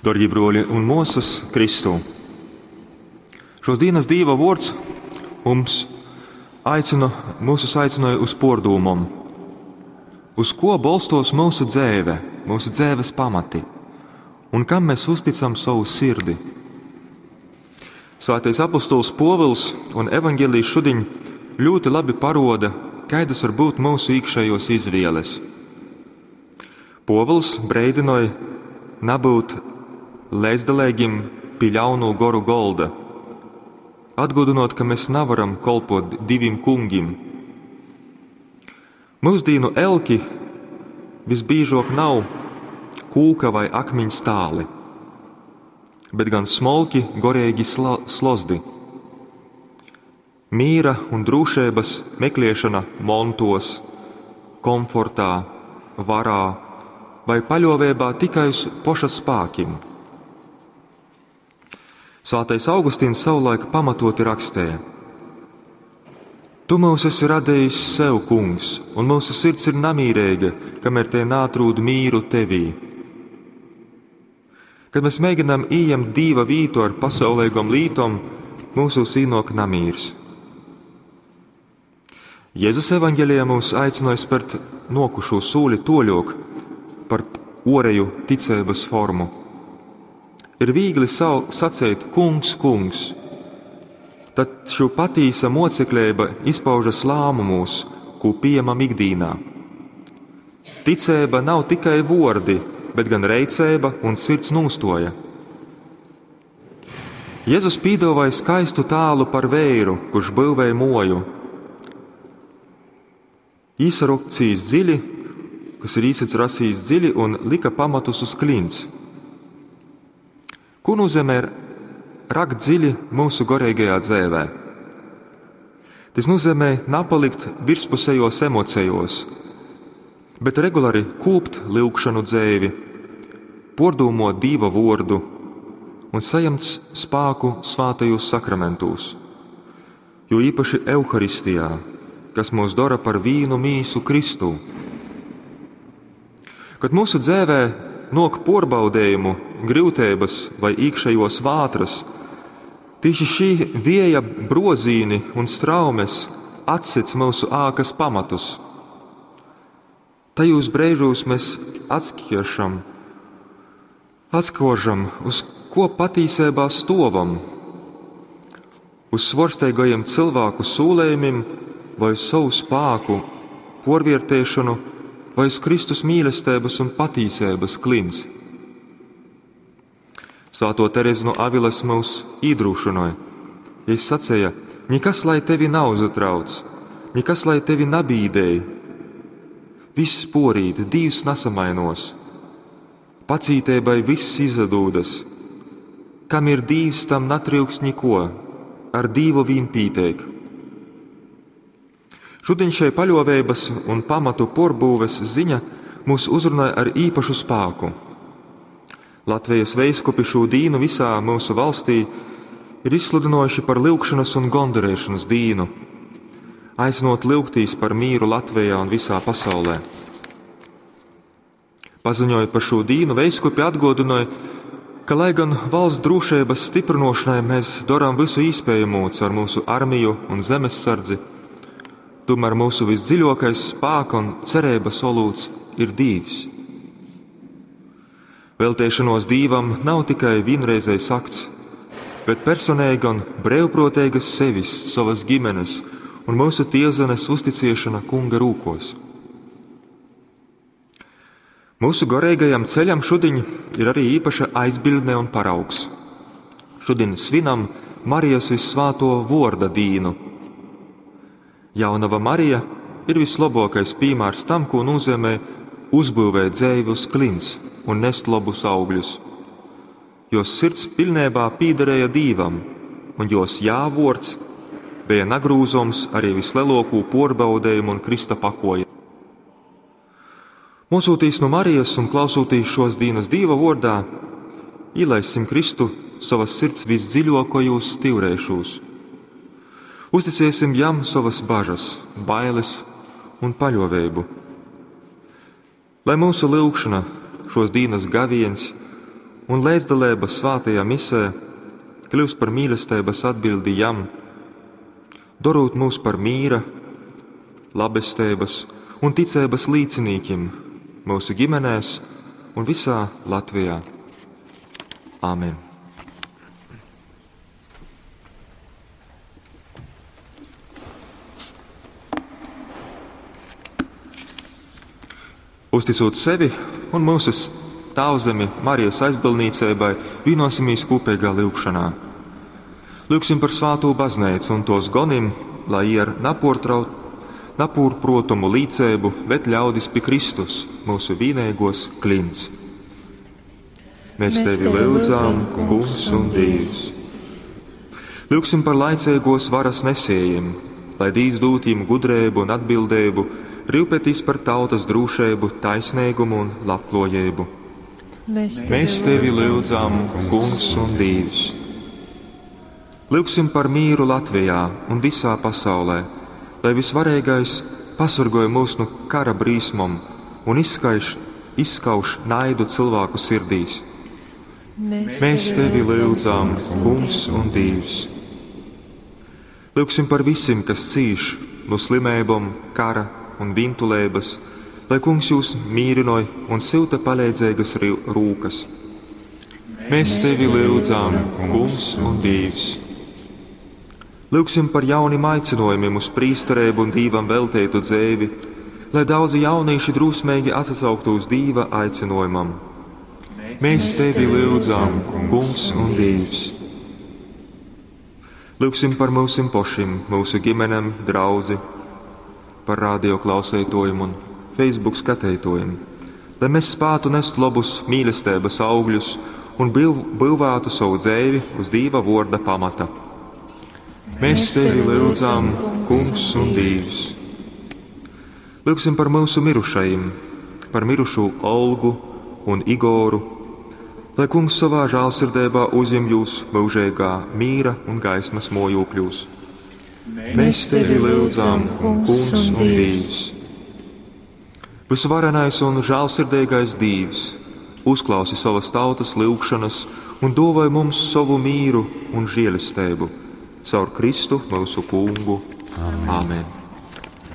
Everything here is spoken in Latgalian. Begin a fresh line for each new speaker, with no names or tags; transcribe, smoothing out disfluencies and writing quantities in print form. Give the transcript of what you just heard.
Darbie bruoli un muosas Kristū! Šos dienas Dīva vuords mums aicina, mūsus aicināja uz pordūmom. Uz ko bolstos mūsu dzēve, mūsu dzēves pamati, un kam mēs uzticam savu sirdi? Svētais apostols Pōvils un evaņģēlijs šodien ļoti labi paroda, kādas var būt mūsu iekšējos izvēles. Pōvils breidinoja nabūt līdzdalīgim pie ļaunu goru golda, atgādinot, ka mēs nevaram kolpot diviem kungiem. Mūsdienu elki visbiežāk nav kūka vai akmeņa stāli, bet gan smolki, gorīgi slozdi. Mīra un drošības meklēšana montos, komfortā, varā vai paļāvībā tikai uz poša spēkiem. Svētais Augustīns savulaik pamatoti rakstīja: Tu mūs esi radījis sev, kungs, un mūsu sirds ir namīrīga, kamēr te nātrūd mīru tevī. Kad mēs mēģinām ieņemt dīva vītu ar pasaulīgom lītom, mūsos īnok namīrs. Jēzus evaņģēlijā mūs aicināja spērt nokušo sūli toļok par oreju ticības formu. Ir viegli sacīt, kungs, kungs, tad šo patīsa mocekļība izpaužas lēmumos, ko pieņemam ikdienā. Ticība nav tikai vordi, bet gan reicība un sirds nūstoja. Jēzus pīdovāja skaistu tēlu par vēru, kurš būvēja moju. Īsarokcīs dziļi, kas ir īsaracīs dziļi un lika pamatus uz klints. Ko nozīmē rakt dziļi mūsu garīgajā dzīvē? Tas nozīmē napalikt virspusējos emocijos, bet regulāri kūpt lūgšanu dzēvi, pordūmot Dīva vordu un saņemt spāku svātajos sakramentūs, jo īpaši Euharistijā, kas mūs dara par vīnu mīsu Kristū. Kad mūsu dzēvē nok porbaudējumu, grūtības vai iekšējos vātras, tieši šī vieja brozīni un straumes atsits mūsu ākas pamatus. Tajos brīžos mēs atšķiršam, atskožam, uz ko patīsībā stovam, uz svorsteigajiem cilvēku sūlējumiem vai uz savu spāku, porviertēšanu vai uz Kristus mīlestības un patīsības klints. Svēto Terezu no Avilas mūs iedrošināja. Ja es sacīja, nekas lai tevi nav uzatrauc, nekas lai tevi nabīdēja. Viss porīt, Dievs nesamainos. Pacītēbai viss izdūdas. Kam ir Dievs, tam natrūks neko, ar Dievu vien pīteik. Šodien šai paļāvības un pamatu porbūves ziņa mūs uzrunāja ar īpašu spēku. Latvijas veiskupi šo dīnu visā mūsu valstī ir izsludinājuši par lūgšanas un gondarēšanas dīnu, aicinot lūgtīs par mīru Latvijā un visā pasaulē. Paziņojot par šo dīnu, veiskupi atgādināja, ka, lai gan valsts drošības stiprinošanai mēs darām visu iespējamo caur mūsu armiju un zemesardzi, tomēr mūsu visdziļākais spēka un cerības olūts ir Dievs. Veltēšanos Dievam nav tikai vienreizējs akts, bet personīga un brīvprātīga sevis, savas ģimenes un mūsu tiezenes uzticiešana Kunga rūkos. Mūsu garīgajam ceļam šodien ir arī īpaša aizbildne un paraugs. Šodien svinam Marijas vissvāto vorda dīnu. Jaunava Marija ir vislabākais piemērs tam, ko nozīmē uzbūvēt dzēvi uz klints un nest labus augļus. Jos sirds pilnībā pīderēja Dīvam, un jos jāvords bija nagrūzoms arī vislielāko porbaudējumu un Krista pakoja. Mocūtīs no Marijas un klausūtīs šos dienas Dīva vordā, ielaisim Kristu savas sirds visdziļākajos stīvrēšos. Uzticēsim jam savas bažas, bailes un paļāvību. Lai mūsu lūgšana, šos dienas gaviens un leidzdaleiba svātajā misē kļyust par mīlesteibas atbiļdi Jam, dorūt mūs par mīra, labesteibas un ticeibas līcinīkim mūsu ģimenēs un visā Latvijā. Āmen! Uzticot sevi un mūsu Tēvzemi Marijas aizbildniecībai, vienosimies kopīgā lūgšanā. Lūgsim par svāto baznīcu un tos gonim, lai jie ar napūrprotumu līdzību ved ļaudis pie Kristus, mūsu vienīgos klints. Mēs tevi lūdzam, Kungs un Dievs. Lūgsim par laicīgos varas nesējiem, lai Dievs dod viņiem gudrību un atbildību, rūpēties par tautas drošību, taisnīgumu un labklājību.
Mēs
Mēs tevi lūdzam, Kungs un Dievs. Lūgsim par mīru Latvijā un visā pasaulē, lai visvarīgais pasargoja mūs no kara brīsmom un izskaiš, izskauž naidu cilvēku sirdīs.
Mēs
Mēs tevi lūdzam, Kungs un Dievs. Lūgsim par visiem, kas cīš no slimībām, kara un vintulības, lai Kungs jūs mīrinoja un silta palīdzīgas rūkas. Mēs tevi lūdzam, Kungs un Dievs. Lūgsim par jauniem aicinājumiem uz prīsterību un Dievam veltītu dzīvi, lai daudzi jaunieši drosmīgi atsauktu uz Dieva aicinājumam. Mēs tevi lūdzam, Kungs un Dievs. Lūgsim par mūsim pašiem, mūsu ģimenēm, draudzi, par radio klausētojiem un Facebook skatītojiem, lai mēs spētu nest labus mīlestības augļus un būvētu savu dzīvi uz Dieva vārda pamata. Mēs tevi lūdzam, Kungs un Dievs. Lūgsim par mūsu mirušajiem, par mirušo Olgu un Igoru, lai Kungs savā žēlsirdībā uzņem jūs mūžīgā mīra un gaismas mojokļos. Mēs tevi lūdzam, Kungs un Dievs. Visvarenais un žēlsirdīgais Dievs, uzklausi savas tautas lūgšanas un dāvāj mums savu mīru un žēlastību caur Kristu mūsu kungu. Amen. Amen.